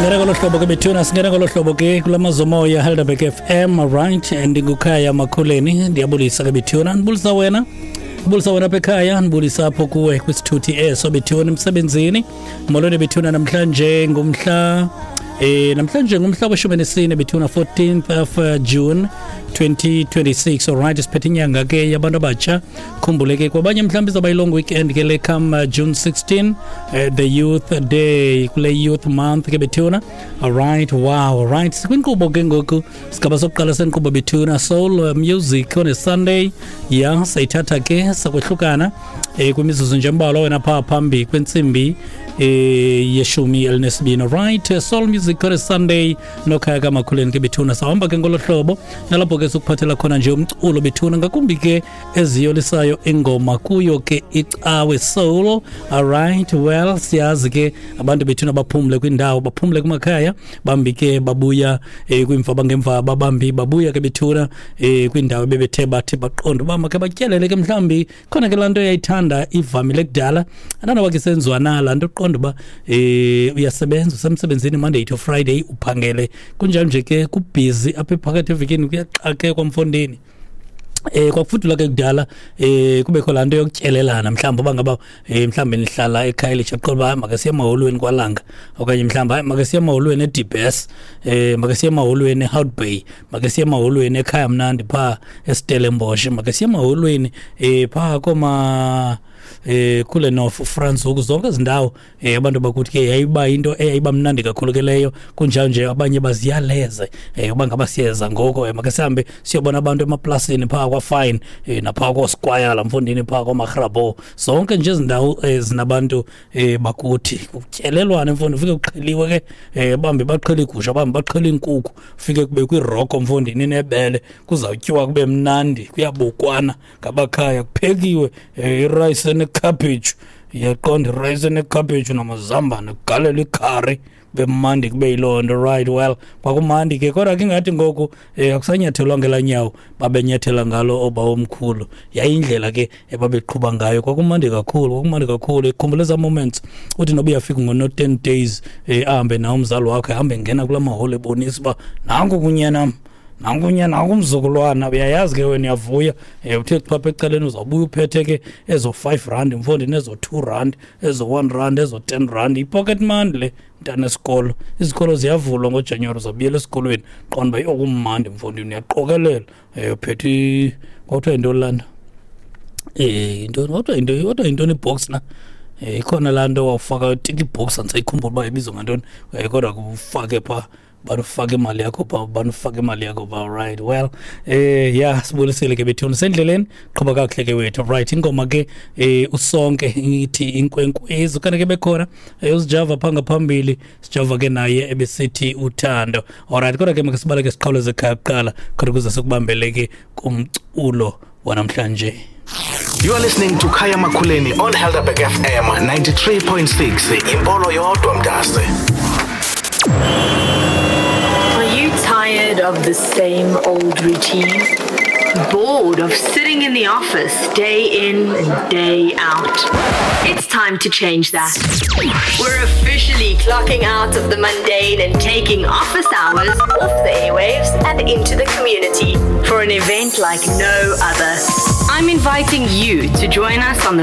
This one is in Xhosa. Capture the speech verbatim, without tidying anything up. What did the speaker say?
Singena ngolo hlobo ke bethuna, singena ngolo hlobo ke kula mazomoya Helderberg F M, right? Ndingukhaya Makhuleni, ndiyabulisa ke bethuna, ndibulisa wena, ndibulisa wena apha ekhaya, ndibulisa apho kuwe kwisithuthi eso bethuna, emsebenzini. Molweni bethuna, namhlanje ngumhla eh namhlanje ngumhla weshumi nesine bethuna, fourteenth of uh, June twenty twenty-six. Alright, siphethe inyanga ke yabantu abatsha. Khumbule ke kwabanye mhlawumbi izawuba yi-long weekend ke le come uh, June sixteen, uh, the Youth Day, kule Youth Month ke bethuna. Alright, wow, alright, sikwinkqubo ke ngoku, sigaba sokuqala senkqubo bethuna, Soul uh, Music on a Sunday. Ya, sayithatha ke sakwehlukana eh kwimizuzu nje embalwa wena phaa phambi kwentsimbi eh yeshumi elinesibini. Right, Soul Music on a Sunday nokhaya kaMakhuleni ke bethuna. Sahamba ke ngolo hlobo nalapho ke sikuphathela khona nje umculo bethuna, ngakumbi ke eziyolisayo ingoma kuyo ke icawe soul. Alright, well, siyazi ke abantu bethuna baphumle kwindawo, baphumle kumakhaya, bambi ke babuya eh, kwimfaba ngemva, bambi babuya ke bethuna eh, kwindawo bebethe bathi baqonda uba makhe batyelele ke mhlawumbi khona ke laa nto yayithanda ivamile kudala, andanoba ke senziwa na laa nto, uqonda uba eh uyasebenza, usemsebenzini Monday to Friday, uphangele, kunjalo nje ke kubhizi apha phakathi evekini, kuyaxakekwa mfondini. eh kwakufudula ke kudala eh kubekho laa nto yokutyelelana, mhlawumbi uba ngaba eh mhlawumbi nihlala eKhayelitsha, qonda uba make siye emaholweni kwaLanga, okanye mhlawumbi hayi, make siye emaholweni eDibes, eh make siye emaholweni eHout Bay, make siye emaholweni ekhaya mnandi phaa eStellenbosch, make siye emaholweni eh phaa koma eh kule North Franschhoek, zonke ezi ndawo eh abantu bakuthi ke yayiba into eyayiba mnandi kakhulu ke leyo. Kunjalo nje abanye baziyaleze eh uba ngaba siyeza ngoko eh make sihambe siyobona abantu emaplasini phaa kwa-Fine eh naphaa koSquire la mfondini, phaa koMagrabo, zonke nje ezi ndawo zinabantu eh bakuthi kutyelelwana mfondini, ufike kuxheliwe ke, eh bambi baqhela igusha, bambi baqhela inkukhu, ufike kube kwiroko mfondini nebele, kuzawutyiwa kube mnandi, kuyabukwana ngabakhaya, kuphekiwe eh irayisi nekhaphetshu, iyaqonda, irayisi nekhaphetshu namazambane, kugalelwa ikhari, kube mandi, kube yiloo nto. Right, well, kwakumandi ke, kodwa ke ingathi ngoku um akusanyathelwa ngelaa nyawo babenyathela ngalo oobawomkhulu. Yayindlela ke ebabeqhuba ngayo, kwakumandi kakhulu, kwakumandi kakhulu. Ikhumbula ezaa moments uthi noba uyafika ngono-ten days, um ahambe nawe umzali wakho, ahambe ngena kulaa maholo ebonisa uba nanku kunyanam, nankunya, nanku umzukulwana. Uyayazi ke wena, uyavuya, um uthe chapha ecaleni, uzawubuya uphethe ke ezo five rand mfondini, ezo two rand, ezo one rand, ezo ten rand, i-pocket money le mntana esikolo. Izikolo ziyavulwa ngoJanuwari, uzawubuyela esikolweni, qonda uba yokumandi mfondini, uyaqokelela um uphethe, kwakuthiwa yintoni laa nto, um yintoni kwakuthiwa yinto, kodwa yintoni ibox na, um ikhona laa nto wawufaka tick box, andisayikhumbula uba ibizwa ngantoni, um kodwa ufake phaa, banufake imali yakho phaa, banufake imali yakho phaa. Right, well, eh ya, sibulisile ke bethuna, sendleleni, qhuba kakuhle ke wethu. Right, ingoma ke eh usonke ithi Inkwenkwezi, kanti ke bekhona eh uSijava phaa ngaphambili, sijava ke naye ebesithi Uthando. Alright, kodwa ke makasibaleke siqhawuleze ekhaya kuqala khona ukuze sikubambele ke kumculo wanamhlanje. You are listening to Khaya Makhuleni on Helderberg F M ninety-three point six. Impolo yodwa mntase. Are you tired of the same old routine? Bored of sitting in the office day in and day out? It's time to change that. We're officially clocking out of the mundane and taking office hours off the airwaves and into the community for an event like no other. I'm inviting you to join us on the